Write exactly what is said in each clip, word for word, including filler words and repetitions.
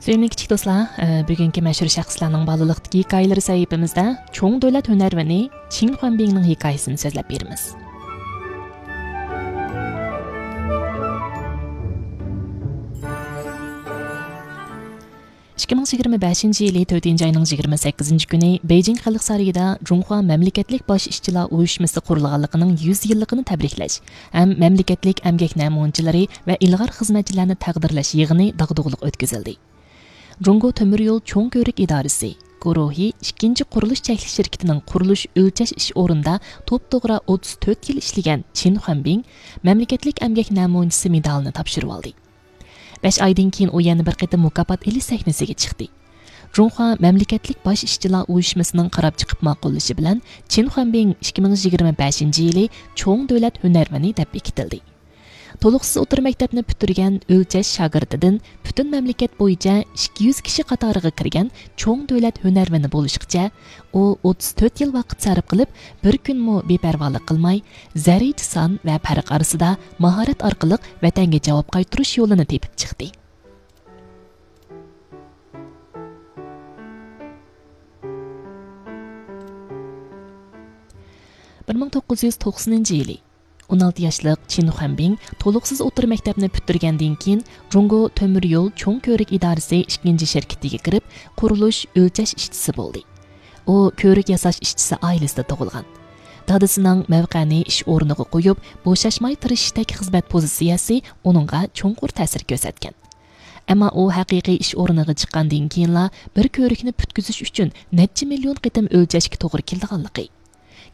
سۆيۈملۈك كىچىك دوستلار، ئە، بۈگۈنكى مەشھۇر شەخسلەرنىڭ بالىلىقتىكى ھېكايىلىرى سەھىپىمىزدە چوڭ دۆلەت ھۈنەرۋىنى چىن خۇەنبىڭنىڭ ھېكايىسىنى سۆزلەپ بېرىمىز. ئىككى مىڭ يىگىرمە بەشىنچى يىلى تۆتىنچى ئاينىڭ يىگىرمە سەككىزىنچى كۈنى بېيجىڭ خەلق سارىيىدا جۇڭخۇا مەملىكەتلىك باش ئىشچىلار ئۇيۇشمىسى قۇرۇلغانلىقىنىڭ يۈز يىللىقىنى تەبرىكلەش ھەم مەملىكەتلىك ئەمگەك نەمۇنىچىلىرى ۋە ئىلغار خىزمەتچىلەرنى تەقدىرلەش يىغىنى داغدۇغىلىق ئۆتكۈزۈلدى. جۇڭگو تۆمۈر يول چوڭ كۆۋرۈك ئىدارىسى گۇرۇھى ئىككىنچى قۇرۇلۇش چەكلىك شىركىتىنىڭ قۇرۇلۇش ئۆلچەش ئىش ئورنىدا توپتوغرا ئوتتۇز تۆت يىل ئىشلىگەن چىن خۇەنبىڭ مەملىكەتلىك ئەمگەك نەمۇنىچىسى مېدالىنى تاپشۇرۇۋالدى. بەش ئايدىن كېيىن ئۇ يەنە بىر قېتىم مۇكاپات ئېلىش سەھنىسىگە چىقتى. جۇڭخۇا مەملىكەتلىك باش ئىشچىلار ئۇيۇشمىسىنىڭ قاراپ چىقىپ ماقۇللىشى بىلەن چىن خۇەنبىڭ ئىككى مىڭ يىگىرمە بەشىنچى يىلى چوڭ دۆلەت ھۈنەرۋىنى دەپ بېكىتىلدى. تولۇقسىز ئوتتۇرا مەكتەپنى پۈتتۈرگەن ئۆلچەش شاگىرتىدىن پۈتۈن مەملىكەت بويىچە ئىككى يۈز كىشى قاتارىغا كىرگەن چوڭ دۆلەت ھۈنەرۋىنى بولۇشقىچە، ئۇ ئوتتۇز تۆت يىل ۋاقىت سەرپ قىلىپ، بىر كۈنمۇ بىپەرۋالىق قىلماي، زەررىچە سان ۋە پەرق ئارىسىدا ماھارەت ئارقىلىق ۋەتەنگە جاۋاب قايتۇرۇش يولىنى تېپىپ چىقتى. بىر مىڭ توققۇز يۈز توقسىنىنچى يىلى ئون ئالتە ياشلىق چىن خۇەنبىڭ تولۇقسىز ئوتتۇرا مەكتەپنى پۈتتۈرگەندىن كېيىن، جۇڭگو تۆمۈر يول چوڭ كۆۋرۈك ئىدارىسى ئىككىنچى شىركىتىگە كىرىپ، قۇرۇلۇش ئۆلچەش ئىشچىسى بولدى. ئۇ كۆۋرۈك ياساش ئىشچىسى ئائىلىسىدە تۇغۇلغان. دادىسىنىڭ مەۋقەنى ئىش ئورنىغا قويۇپ، بوشاشماي تىرىشىشتەك خىزمەت پوزىتسىيەسى ئۇنىڭغا چوڭقۇر تەسىر كۆرسەتكەن. ئەمما ئۇ ھەقىقىي ئىش ئورنىغا چىققاندىن كېيىنلا بىر كۆۋرۈكنى پۈتكۈزۈش ئۈچۈن نەچچە مىليون قېتىم ئۆلچەشكە توغرا كېلىدىغانلىقى،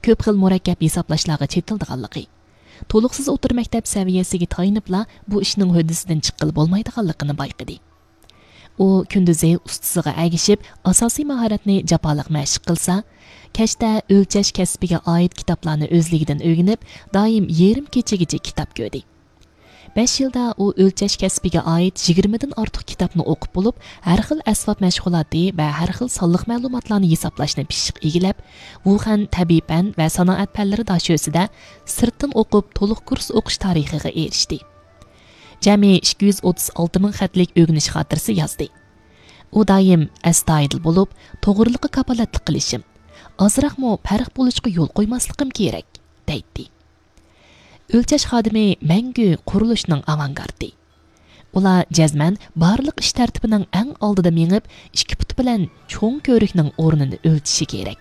كۆپ خىل مۇرەككەپ ھېسابلاشلارغا چېتىلىدىغانلىقى، تولۇقسىز ئوتتۇرا مەكتەپ سەۋىيەسىگە تايىنىپلا بۇ ئىشنىڭ ھۆددىسىدىن چىققىلى بولمايدىغانلىقىنى بايقىدى. ئۇ كۈندۈزى ئۇستىسىغا ئەگىشىپ ئاساسىي ماھارەتنى جاپالىق مەشىق قىلسا، كەچتە ئۆلچەش كەسپىگە ئائىت كىتابلارنى ئۆزلۈكىدىن ئۆگىنىپ، دائىم يېرىم كېچىگىچە كىتاب كۆردى. بەش يىلدا ئۇ ئۆلچەش كەسپىگە ئائىت يىگىرمىدىن ئارتۇق كىتابنى ئوقۇپ بولۇپ، ھەر خىل ئەسۋاب مەشغۇلاتى ۋە ھەر خىل سانلىق مەلۇماتلارنى ھېسابلاشنى پىششىق ئىگىلەپ، ۋۇخەن تەبىئىي پەن ۋە سانائەت پەنلىرى داشۆسىدە سىرتتىن ئوقۇپ، تولۇق كۇرس ئوقۇش تارىخىغا ئېرىشتى. جەمئىي ئىككى يۈز ئوتتۇز ئالتە مىڭ خەتلىك ئۆگىنىش خاتىرىسى يازدى. ئۇ دائىم ئەستايىدىل بولۇپ، توغرىلىققا كاپالەتلىك قىلىشىم، ئازراقمۇ پەرق بولۇشقا يول قويماسلىقىم كېرەك، دەيتتى. ئۆلچەش خادىمى مەڭگۈ قۇرۇلۇشنىڭ ئاۋانگارتى. ئۇلار جەزمەن بارلىق ئىش تەرتىپىنىڭ ئەڭ ئالدىدا مېڭىپ، ئىككى پۇتى بىلەن چوڭ كۆۋرۈكنىڭ ئورنىنى ئۆلچىشى كېرەك.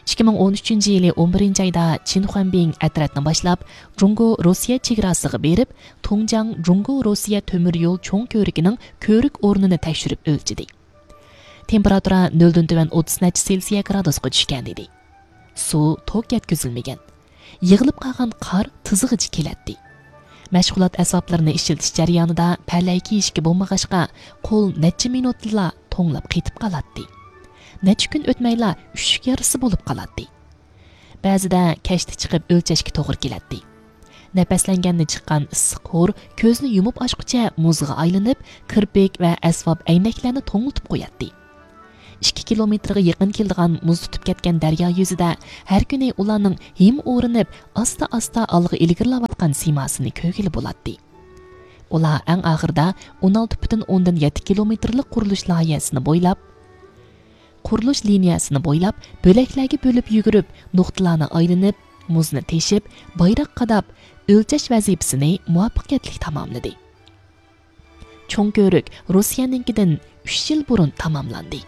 ئىككى مىڭ ئون ئۈچىنچى يىلى ئون بىرىنچى ئايدا چىن خۇەنبىڭ ئەترەتنى باشلاپ، جۇڭگو روسىيە چېگراسىغا بېرىپ، تۇڭجاڭ جۇڭگو روسىيە تۆمۈر يول چوڭ كۆۋرۈكىنىڭ كۆۋرۈك ئورنىنى تەكشۈرۈپ ئۆلچىدى. تېمپېراتۇرا نۆلدىن تۆۋەن ئوتتۇز نەچچە سېلسىيە گرادۇسقا چۈشكەنىدى. سۇ توك يەتكۈزۈلمىگەن. يىغىلىپ قالغان قار تىزىغىچە كېلەتتى. مەشغۇلات ئەسۋابلىرىنى ئىشلىتىش جەريانىدا پەلەي كىيىشكە بولمىغاچقا، قول نەچچە مىنۇتتىلا توڭلاپ قېتىپ قالاتتى. نەچچە كۈن ئۆتمەيلا ئۈششۈك يارىسى بولۇپ قالاتتى. بەزىدە كەچتە چىقىپ ئۆلچەشكە توغرا كېلەتتى. نەپەسلەنگەندە چىققان ئىسسىق ھور كۆزنى يۇمۇپ ئاچقۇچە مۇزغا ئايلىنىپ، كىرپىك ۋە ئەسۋاب ئەينەكلەرنى توڭلىتىپ قوياتتى. ئىككى كىلومېتىرغا يېقىن كېلىدىغان مۇز تۇتۇپ كەتكەن دەريا يۈزىدە ھەر كۈنى ئۇلارنىڭ ھىم ئورىنىپ، ئاستا-ئاستا ئالغا ئىلگىرىلەۋاتقان سىيماسىنى كۆرگىلى بولاتتى. ئۇلار ئەڭ ئاخىرىدا ئون ئالتە پۈتۈن ئوندىن يەتتە كىلومېتىرلىق قۇرۇلۇش لايىھەسىنى بويلاپ، قۇرۇلۇش لىنىيەسىنى بويلاپ، بۆلەكلەرگە بۆلۈپ يۈگۈرۈپ، نۇقتىلارنى ئايلىنىپ، مۇزنى تېشىپ، بايراق قاداپ، ئۆلچەش ۋەزىپىسىنى مۇۋەپپەقىيەتلىك تاماملىدى. چوڭ كۆۋرۈك روسىيەنىڭكىدىن ئۈچ يىل بۇرۇن تاماملاندى.